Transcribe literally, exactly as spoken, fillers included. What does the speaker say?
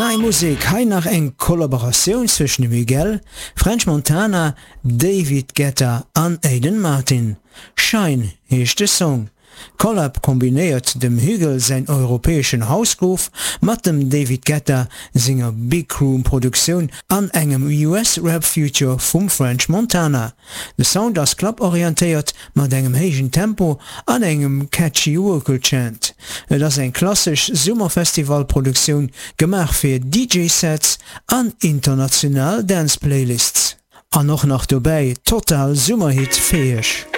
Nei Musek, hei nach eng Kollaboratioun zwëschen dem Hugel, French Montana, David Guetta an Aiden Martin. Shine heescht de Song. Collab kombinéiert dem Hugel säin europäeschen House Groove mat dem David Guetta senger Big Room Produktioun an engem U S Rap Feature vum French Montana. De Sound ass cluborientéiert mat engem héijen Tempo an engem catchy Vocal Chant. Et ass eng klassesch Summerfestival-Produktioun, gemaach fir D J Sets an international Dance Playlists. An och nach dobäi total Summerhit fäeg.